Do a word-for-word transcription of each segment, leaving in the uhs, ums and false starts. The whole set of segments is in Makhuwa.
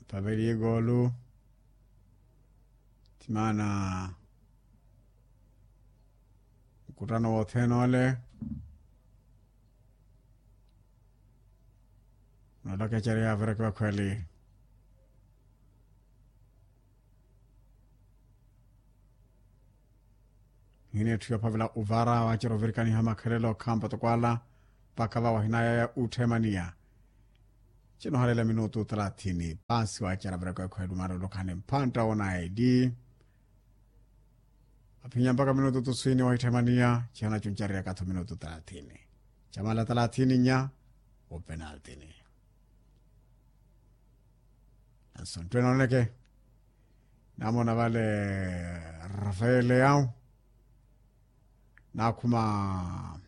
Paveliye goolu. Timaana nkuttano wothene ole noolokeceriha averekiwa khweli. Nhina etthu yoophavela uvara waacerya ovirikaniha makhelelo khampa tokwala mpakha vawahinaya ya utthemaniya. Cinohalela minutu talathini paasi waacerya averekiwa khweli maarulukhani mphantta woonaye di. Aphinya mpakha minutu tuswini wahitthemaniya cihana cuncarerya katho minutu talathini. Camala talathini nya openaltini. Nanso nttwene oneke namona vale rafael leao naakhuma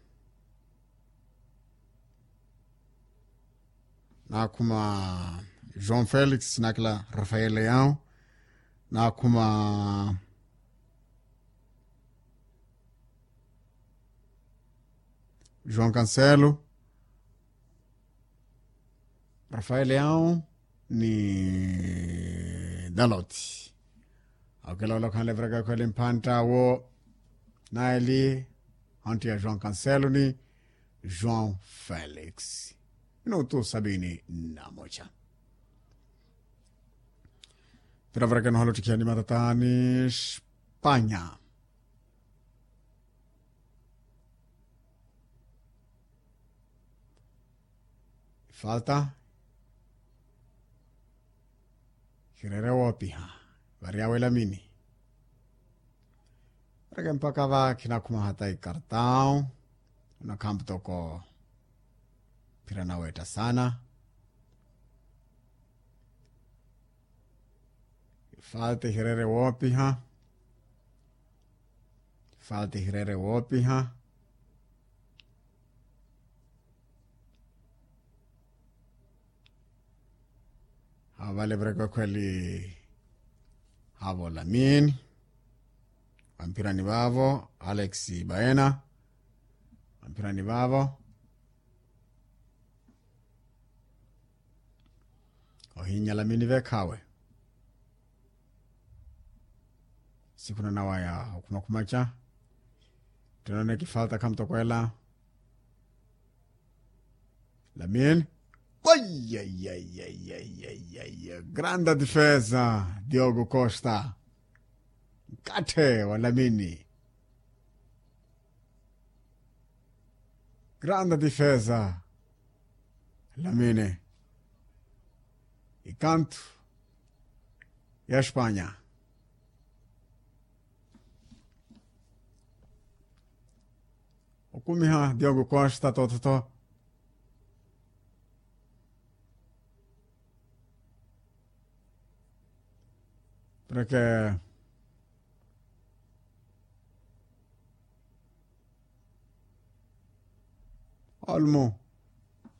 naakhuma joão felix nakila rafael leao naakhuma joão cancelo rafael leao ni daloti. Awo kila ole okhanle eviraka ekhweli mphantta wo naeli ontti ya joão cancelo ni joão felix. Minutu sabini na moja. Pira varakena ohala ottikhiya ni matataani spanya. Ifalta ihireere woopiha vari awe lamini. Vareke mpakha va khinakhuma hata ikartau. Onakhampu toko phira naweetta saana. Ifalta ihireere woopiha. Ifalta ihireere woopiha. Haavo vale eviraka ekhweli. Haavo lamini vamphirani vaavo alex baena. Vamphirani vaavo ohinnya lamini vekhaawe. Sikhuna nawa ya okhumakhumaca. Ttonone kifalta khamutokwela. Lamini. Granda defesa diogo costa. Nkatthe wa lamini. Granda defesa lamini. Ikantu ya spanya. Okumiha diogo costa tototo. Porke olmo